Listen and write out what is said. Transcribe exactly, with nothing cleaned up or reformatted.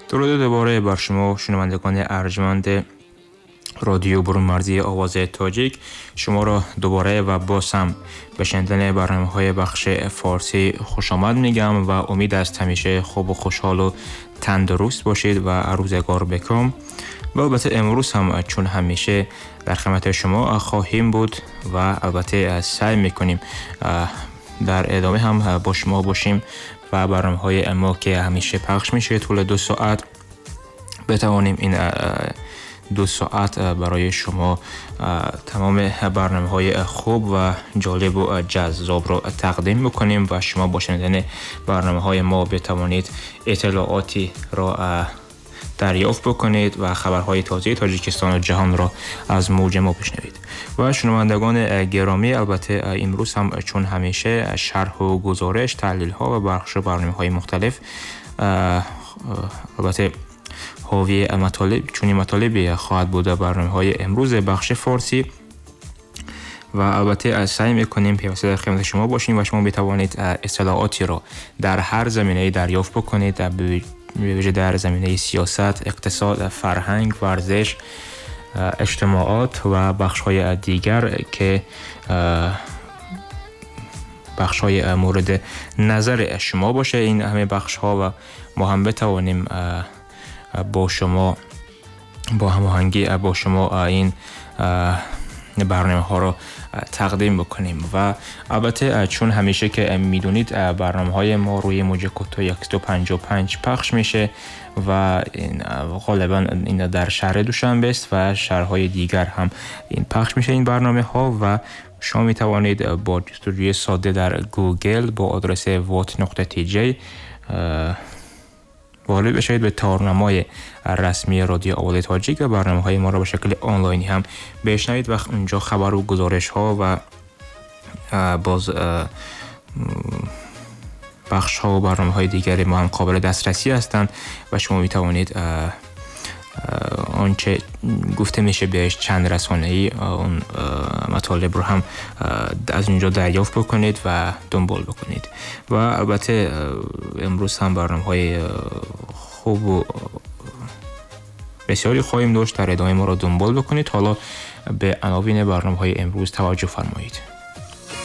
درود دوباره بر شما شنوندگان ارجمند رادیو برون‌مرزی آواز تاجیک. شما را دوباره و باز هم به شنیدن برنامه‌های بخش فارسی خوش آمد میگم و امید است همیشه خوب و خوشحال و تندرست باشید و روزگار بکام. و البته امروز هم چون همیشه در خدمت شما خواهیم بود و البته سعی میکنیم در ادامه هم با شما باشیم و برنامه‌های ما که همیشه پخش میشه طول دو ساعت بتوانیم این دو ساعت برای شما تمام برنامه‌های خوب و جالب و جذاب رو تقدیم بکنیم و شما با شنیدن برنامه‌های ما بتوانید اطلاعاتی را دریافت بکنید و خبرهای تازه تاجیکستان و جهان را از موج ما بشنوید. و شنوندگان گرامی، البته امروز هم چون همیشه شرح و گزارش، تحلیل ها و بخش برنامه‌های مختلف البته حاوی مطالب چون مطالبی خواهد بود برنامه‌های امروز بخش فارسی و البته سعی می‌کنیم پیوسته در خدمت شما باشیم و شما بتوانید اطلاعاتی را در هر زمینه‌ای دریافت بکنید، به ویژه در زمینه سیاست، اقتصاد، فرهنگ، ورزش، اجتماعات و بخش‌های دیگر که بخش‌های مورد نظر شما باشه. این همه بخش‌ها و ما هم بتوانیم با شما با هماهنگی با شما این برنامه ها رو تقدیم بکنیم. و البته چون همیشه که میدونید برنامه های ما روی موج کوتاه صد و پنجاه و پنج پخش میشه و این غالبا این در شهر دوشنبه است و شهرهای دیگر هم این پخش میشه این برنامه ها و شما میتوانید با جستجوی ساده در گوگل با آدرس وات نقطه تی جی وارد بشید به تارنمای رسمی رادیو آواز تاجیک و برنامه‌های ما را به شکل آنلاینی هم بشنوید و اونجا خبر و گزارش‌ها و باز بخش‌ها و برنامه‌های دیگر ما هم قابل دسترسی هستند و شما می‌توانید آنچه گفته میشه بهش چند رسانه‌ای اون مطالب رو هم از اونجا دریافت بکنید و دنبال بکنید. و البته امروز هم برنامه‌های خوب و بسیاری خواهیم داشت، در ادامه ما رو دنبال بکنید. حالا به عناوین برنامه‌های امروز توجه فرمایید.